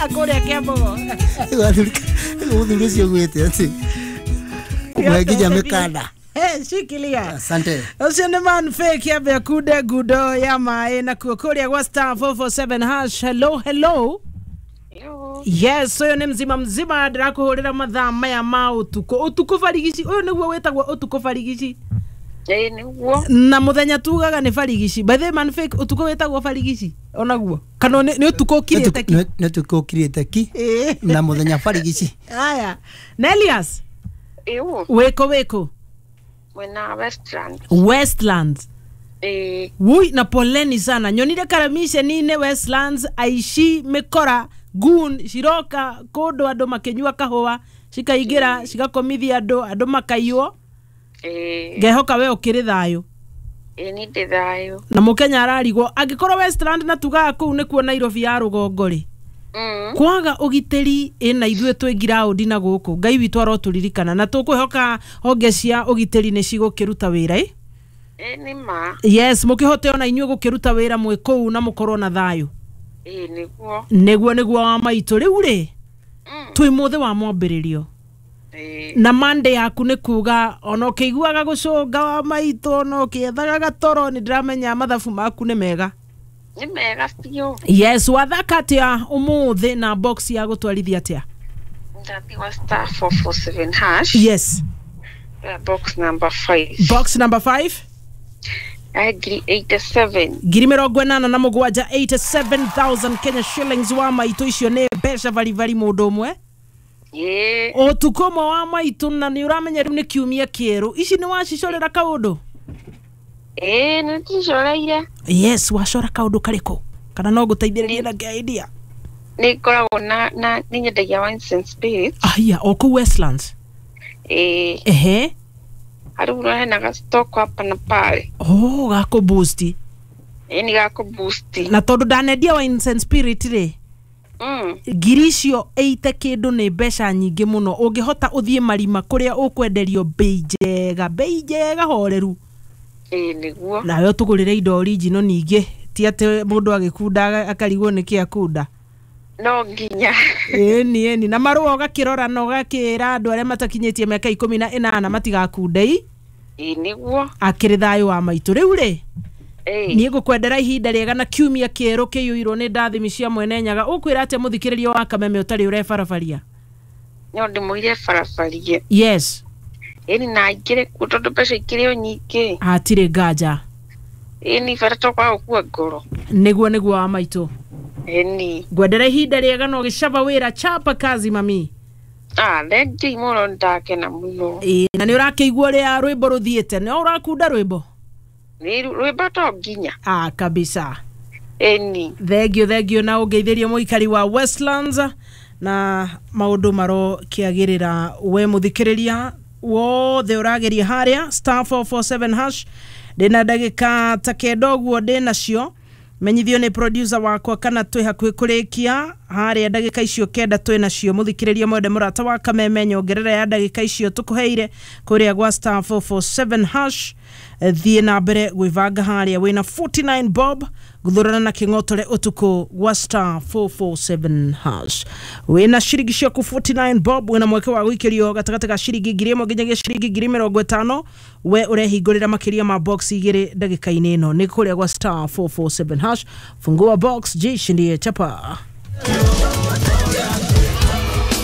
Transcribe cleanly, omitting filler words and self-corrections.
Kũrĩa Kĩambogo. Mũthuri ũcio gwĩte atĩ kũmũhe nginya mĩkanda. Hey, shikilia. Asante. Ũcio nĩ man fake ambe akunde ngundo ya maĩ nakuo kũrĩa gwa *447#. Hello, hello. Yo. Yes, ũyũ nĩ mzima mzima ndĩrakũhũrĩra mathaa maya ma ũtukũ, ũtukũ barigici. Ũyũ nĩguo wĩtagwo ũtukũ barigici. Ĩĩ nĩguo. Na mũthenya tugaga nĩ barigici. By the way, man fake, ũtukũ wĩtagwo barigici onaguo kana nĩ ũtukũ ũkirĩte ki? Nĩ ũtukũ ũkirĩte ki. Ĩĩ. Na mũthenya barigici. Aya, Nelias. Ĩũ. Wĩkũ, wĩkũ? Mwena Westland. Westlands? Ĩĩ. Wui, na poleni sana, nyonire karamiceni-inĩ Westlands aici mĩkora gun ciroka kũndũ andũ makĩnyua kahũa, cikaingĩra cigakomithia andũ, andũ makaiywo. Ĩĩ. Ngehoka we ũkĩrĩ thayũ. Ĩĩ nĩ ndĩ thayũ. Na mũkenya ararigwo angĩkorwo Westland na tugaga kũu nĩkuo Nairobi ya rũgongo rĩ, kwaga ũgitĩri ĩna ithuĩ twĩ ngiraũndi na gũkũ. Ngai witũ arotũririkana na tũkwĩhoka honge cia ũgitĩri nĩ cigũkĩruta wĩra ĩ. Ĩĩ nĩ ma. Yes, mũkĩhote ona inyuĩ gũkĩruta wĩra mwĩ kũu na mũkorwo na thayũ. Ĩĩ nĩguo. Nĩguo nĩguo wa maitũ. Rĩu rĩ, twĩ mũthĩ wa mwambĩrĩrio. Ĩĩ. Na mande yaku nĩ kuga ona ũkĩiguaga gũcũnga wa maitũ, ona ũkĩethaga gatoro, nĩ ndĩramenya mathabu maku nĩ mega. Nĩ mega biũ. Yes, wathaka atĩa ũmũthĩ na box ya gũtwarithia atĩa? Ndathiĩ *447#. Yes. Box number 5. Box number 5. Ngiri 87. 87,000, 87,000 Kenya shillings wa maitũ. Icio nĩ mbeca baribari mũndũ ũmwe. Ĩĩ. Ũtukũ ũmwe wa maitũ, na nĩ ũramenya rĩu nĩ kiumia kĩerũ, ici nĩ wacicorera kaũndũ? Ĩĩ nĩ ndicoreire. Yes, wacora kaũndũ karĩkũ kana no ngũteithĩrĩrie na idea? Nĩ ngoragwo na nĩ nyendagia wines and spirits. Aya, o kũu Westlands? Ĩĩ. Ehe. Hariu hena ga stock hapa na pale. Oh, gakũ boost. Ĩĩ nĩ gakũ boost. Na tondũ ndanendia wines and spirit rĩ, ngiri icio 80 kĩndũ nĩ mbeca nyingĩ mũno. Ũngĩhota ũthiĩ marima kũrĩa ũkwenderio bei njega, bei njega horeru. Ĩĩ nĩguo. Nawe ũtũgũrĩre indo original ningĩ, ti atĩ mũndũ agĩkunda akarigwo nĩkĩ akunda. No nginya. Ĩni ĩni, na marũa ũgakĩrora na ũgakĩra andũ arĩa matakinyĩtie mĩaka 18 matigakunde i. Ĩĩ nĩguo. Akĩrĩ thayũ wa maitũ. Rĩu rĩ, Ĩĩ. niĩ ngũkwendera ihinda rĩega na kiumia kĩerũ kĩiyũirwo nĩ ndathimi cia mwene Nyaga. Ũkwĩra atĩa mũthikĩrĩria wa Kameme ũtarĩ ũrebarabaria? No ndĩmũire barabarie. Yes. Ĩni na aingĩre kuo tondũ mbeca ikĩrĩ o nyingĩ. Hatirĩ nganja. Ĩni bata to kwaga gũkua ngoro. Nĩguo nĩguo wa maitũ. Ĩni. Ngwendera ihinda rĩega na ũgĩcaba wĩra, chapa kazi mami. Ah, thengiũ mũno, ndakena mũno. Ĩĩ, na nĩ ũrakĩigua ũrĩa rwĩmbo rũthiĩte? Nĩ ũrakunda rwĩmbo? Nĩ rwĩmbo to nginya. Ah, kabisa. Ĩni. Thengio, thengio, na ũngeithĩrie mũikari wa Westlands na maũndũ marokĩagĩrĩra. We mũthikĩrĩria wothe ũrageria harĩa *447#, ndĩna ndagĩka ta kenda ũguo ndĩnacio, menyithio nĩ producer wakwa kana twĩ hakuhĩ kũrĩkia harĩa. Ndagĩka icio kenda twĩ nacio, mũthikĩrĩria mwende mũrata wa Kameme, nyongerera ya ndagĩka icio tũkũheire kũrĩa gwa *447#. Thiĩ na mbere gwĩbanga harĩa wĩna 49 bob guthurana na kĩng'otore ũtukũ gwa *447#. Wĩna ciringi ciaku 49 bob, wĩna mweke wa gũikĩrio gatagatĩ ga ciringi 1,000 nginyagia ciringi 50,000. We ũrehingũrĩra makĩria ma box igĩrĩ ndagĩka-inĩ ĩno, nĩ kũrĩa gwa *447#. Fungua box, jishindie chapa.